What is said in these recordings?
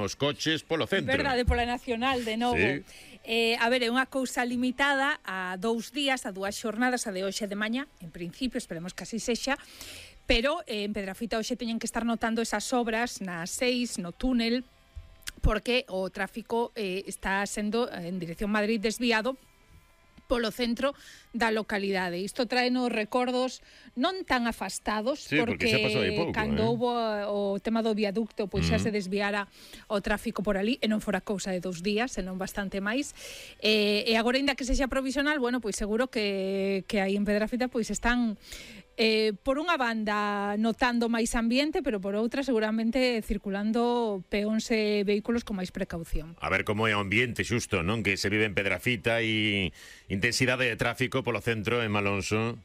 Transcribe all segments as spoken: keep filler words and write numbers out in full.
os coches polo centro. Verdade, pola Nacional, de novo. Sí. Eh, a ver, é unha cousa limitada a dous días, a dúas xornadas, a de hoxe de mañá, en principio, esperemos que así sexa, pero eh, en Pedrafita hoxe teñen que estar notando esas obras nas seis, no túnel, porque o tráfico eh, está sendo en dirección Madrid desviado polo centro da localidade. Isto trae nos recordos non tan afastados, sí, porque, porque xa pasou aí pouco, cando eh? houbo o tema do viaducto, pois xa Mm. se desviara o tráfico por ali, e non fora cousa de dous días, senón bastante máis. Eh, e agora, ainda que sexa provisional, bueno, pois seguro que, que aí en Pedrafita pois están Eh, por unha banda notando máis ambiente, pero por outra seguramente circulando peóns e vehículos con máis precaución. A ver como é o ambiente xusto, non? Que se vive en Pedrafita e intensidade de tráfico polo centro en Malonso.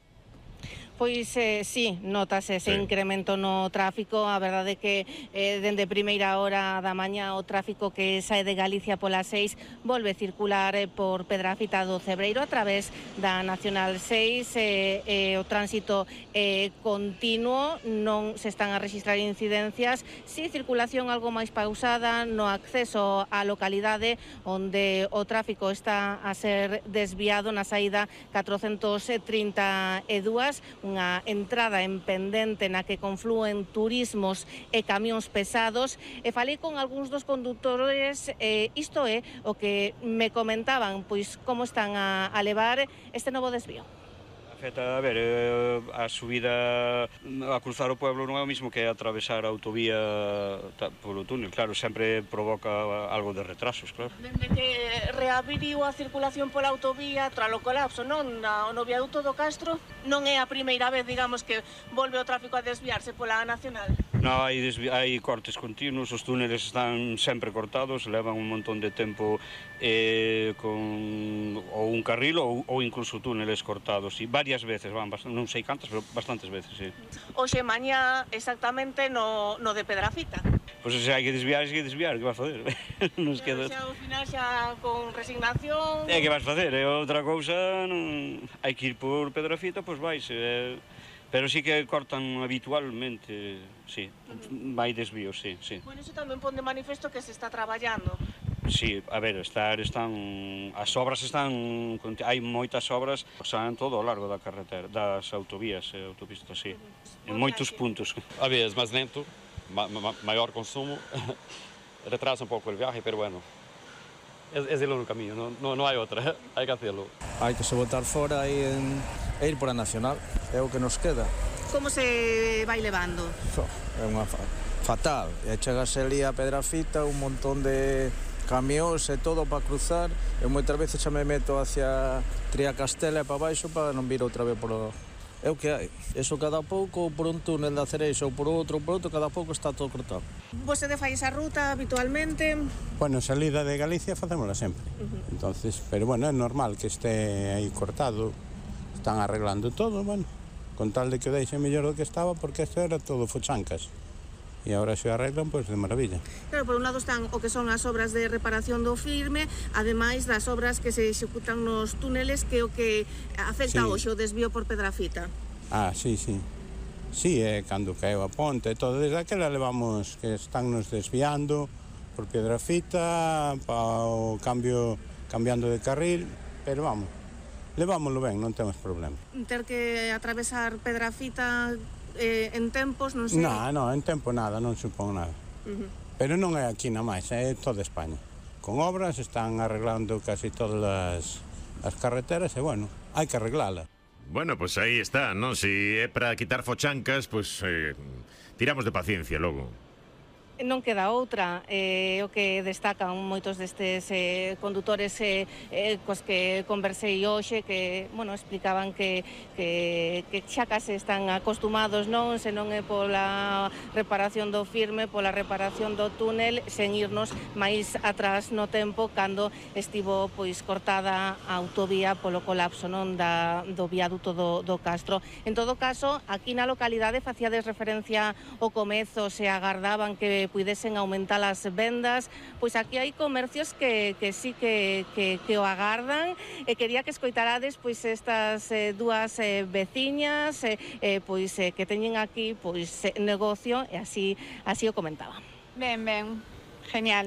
Pois eh, sí, notase ese sí. incremento no tráfico. A verdade é que eh, dende primeira hora da mañá o tráfico que sae de Galicia polas seis volve circular eh, por Pedrafita do Cebreiro a través da Nacional seis. Eh, eh, o tránsito eh, continuo, non se están a rexistrar incidencias, si circulación algo máis pausada no acceso á localidade, onde o tráfico está a ser desviado na saída catrocentos trinta e dúas, unha entrada en pendente na que conflúen turismos e camións pesados, e falei con algúns dos condutores, eh, isto é o que me comentaban, pois como están a, a levar este novo desvío. Afecta, a ver, eh, a subida a cruzar o pueblo non é o mismo que atravesar a autovía ta, polo túnel, claro, sempre provoca algo de retrasos, claro. Dende que reabriu a circulación pola autovía tras o colapso, non, na, no viaduto do Castro, non é a primeira vez, digamos, que volve o tráfico a desviarse pola Nacional. No, hai, desvi- hai cortes continuos, os túneles están sempre cortados, levan un montón de tempo eh, con ou un carril ou, ou incluso túneles cortados, e varias veces, van, non sei cantas, pero bastantes veces, sí. Hoxe mañá exactamente no, no de Pedrafita. Pois se hai que desviar, hai que desviar, que vas facer? Nos queda... Xa ao final xa con resignación... É que vas facer, é outra cousa, non... hai que ir por Pedrafita, pois vais, eh... pero sí que cortan habitualmente, sí, vai desvíos, sí, sí. Bueno, iso tamén pon de manifesto que se está traballando. Sí, a ver, estar, están, as obras están, hai moitas obras, xa en todo o largo da carretera, das autovías e autopistas, sí, en moitos puntos. A vez máis lento, ma, ma, maior consumo, retrasa un pouco o viaje, pero bueno, é, é el único camiño, non, non, non hai outra, hai que hacerlo. Hai que se botar fora e, en, e ir por a Nacional, é o que nos queda. Como se vai levando? So, é unha fa fatal, e chegase ali a Pedrafita, un montón de camións e todo para cruzar, e moitas veces xa me meto hacia Triacastela e para baixo para non vir outra vez por o... É o que hai. Eso cada pouco, por un túnel da Cereixa ou por outro, por outro, cada pouco está todo cortado. Vostede fai esa ruta habitualmente? Bueno, salida de Galicia facémola sempre. Uh-huh. Entonces, pero bueno, é normal que este aí cortado. Están arreglando todo, bueno, con tal de que o deixe mellor do que estaba, porque isto era todo fochancas. E agora se arreglan, pois de maravilla. Claro, por un lado están o que son as obras de reparación do firme, ademais das obras que se executan nos túneles, que o que afecta sí. Hoxe o desvío por Pedrafita. Ah, sí, sí. Sí, é cando caeu a ponte e todo. Desde aquela levamos que están nos desviando por Pedrafita, para o cambio, cambiando de carril, pero vamos, levámoslo ben, non temos problema. Ter que atravesar Pedrafita eh, en tempos, non sei... Non, non, en tempo nada, non supón nada. Uh-huh. Pero non é aquí na máis, é toda España. Con obras están arreglando casi todas as, as carreteras e, bueno, hai que arreglala. Bueno, pois pues aí está, non? Si é para quitar fochancas, pois pues, eh, tiramos de paciencia logo. Non queda outra, eh, o que destacan moitos destes eh, condutores eh, eh, cos que conversei hoxe, que, bueno, explicaban que, que, que xa case están acostumados, non, se non é pola reparación do firme, pola reparación do túnel, sen irnos máis atrás no tempo, cando estivo, pois, cortada a autovía polo colapso, non, da, do viaduto do, do Castro. En todo caso, aquí na localidade facíades referencia ao comezo, se agardaban que puidesen aumentar as vendas, pois aquí hai comercios que, que sí que, que, que o agardan, e quería que escoitarades pois estas eh, dúas eh, veciñas eh, eh, pois eh, que teñen aquí pois eh, negocio, e así así o comentaban. Ben, ben, genial.